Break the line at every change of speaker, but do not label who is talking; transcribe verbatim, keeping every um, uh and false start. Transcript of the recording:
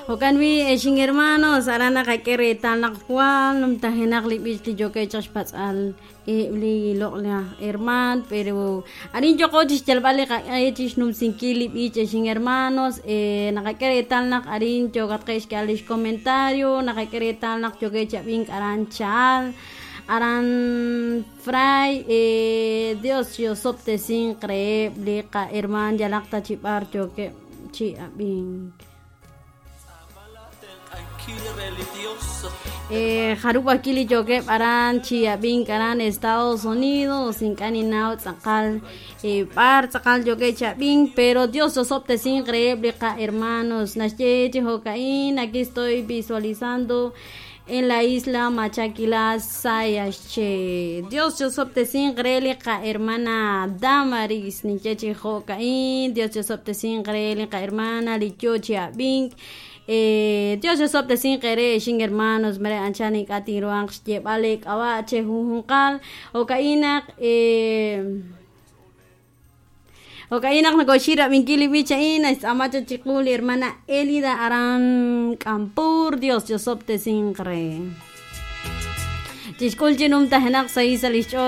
Jo'kan wi exin hermanos aran naqak'e reetal naq jwal numtajenaq li b'ich li yookeb' chaq xpatz'al eb' li loq'laj herman pero arin yoqo chixyalb'al li qaq'e chixnumsinkil li b'ich exin hermanos eh, naqak'e reetal naq arin yookatqe' xk'eeb'al lix comentario naqak'e reetal naq yookeb' chi ab'ink aran Chahal aran Fray eh, Dios yosob'tesinq reheb' li qaherman yalaq ta chi b'ar yookeb' chi ab'ink. Eh, jarub' ajwi' li yookeb' aran chi ab'ink aran Estados Unidos ink'a' ninnaw tz'aqal eh, b'ar tz'aqal yookeb' chi ab'ink pero Dios yosob'tesinq reheb' li qahermanos naxye chi jo'ka'in aquí estoy visualizando en la isla Machaquila Sayaxché Dios yosob'tesinq re li qahermana Damaris ninye chi jo'ka'in Dios yosob'tesinq re li qahermana li yoo chi ab'ink Eh, Dios yosob'tesinq eere exin hermanos mere anchal ink'a' tinruhanq xyeeb'al eek'ab'a' che junjunqal jo'ka'in naq eh, jo'ka'in naq nokoxi rab'inkil li b'ich a'in naxtz'aama chaq chiqu li hermana Elida aran K'ampur Dios yosob'tesinq re chixk'ul chi numtajenaq sa' sa' lix ch'ool.